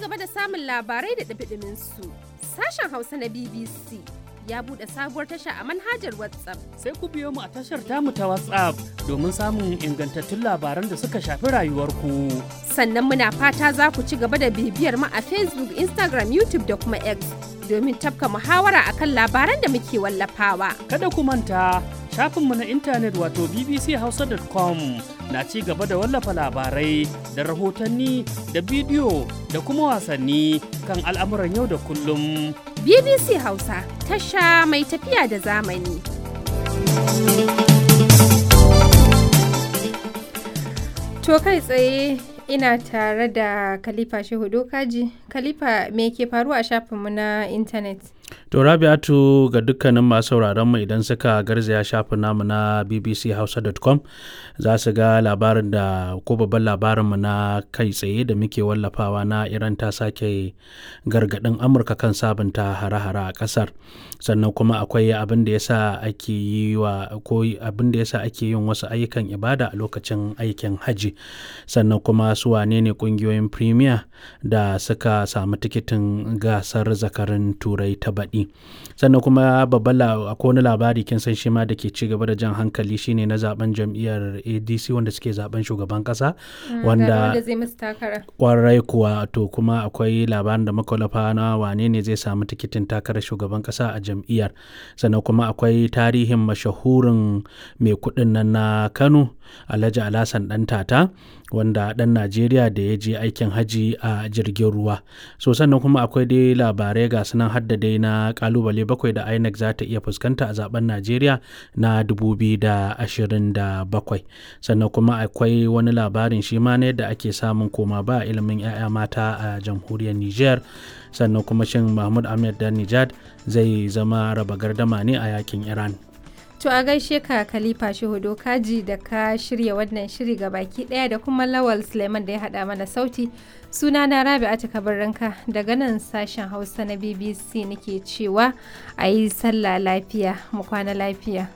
gaba da samun labarai da ɗumi su, sashen Hausa na BBC ya buɗe sabuwar tasha a manhajar WhatsApp. Sai ku biyo mu a tashar tamu ta WhatsApp domin samun ingantattun labaran da suka shafi rayuwarku. Sannan muna fata za ku ci gaba da bibiyar mu a Facebook, Instagram, YouTube da kuma X domin tafka muhawara akan labaran da muke wallafawa. Kada ku manta shafinmu na intanet wato bbchausa.com na ci gaba da wallafa labarai da rahotanni da bidiyo da kuma wasanni kan al'amuran yau da kullum. BBC Hausa tasha mai tafiya da zamani. To kai tsaye ina tare da Khalifa Shehu Dokaji. Khalifa, me ke faruwa a shafinmu na intanet? To Rabi'atu, ga dukkanin masu sauraron mu, idan suka garzaya shafin namu na bbchausa.com za su ga labarin da ko babban labarin mu na kai tsaye da muke wallafawa na Iran ta sake gargadin Amurka kan sabunta hare-hare a kasar. Sannan kuma akwai abin da yasa ake yi wa ko abin da yasa ake yin wasu ayyukan ibada a lokacin aikin haji. Sannan kuma su wane ne kungiyoyin Premier da suka samu tikitin gasar zakarin Turai ta baɗi. Sannan kuma babban akwai wani labari, kin san shi ma, da ke ci gaba da jan hankali, shine na zaben jam'iyyar ADC wanda suke zaben shugaban kasa. Wanda zai musu takara. Kwarai kuwa. To kuma akwai labarin da muka wallafa na wane ne zai samu tikitin takarar shugaban kasa a jam'iyyar. Sannan kuma akwai tarihin mashahurin mai kuɗin nan na Kano, Alhaji Alhassan Dan Tata, wanda ɗan Najeriya da ya je aikin haji a jirgin ruwa. So sannan kuma akwai dai labarai ga sunan, hadda dai na kalubale 7 da INEC za ta iya fuskanta a zaben Najeriya na 2027. Sannan kuma akwai wani labarin shi ma ne da ake samun koma ba ilimin 'ya'ya mata a jamhuriyar Niger. Sannan kuma shin Mahmud Ahmed dan Nijad zai zama raba gardama ne a yakin Iran? To a gaishe ka Khalifa Shehu Dokaji da ka shirya wannan shiri ga baki daya, da kuma Lawal Suleiman da ya hada mana sauti. Suna na Rabi'atu Kabarranka daga nan sashen Hausa na BBC nake cewa a yi sallah lafiya, mu kwana lafiya.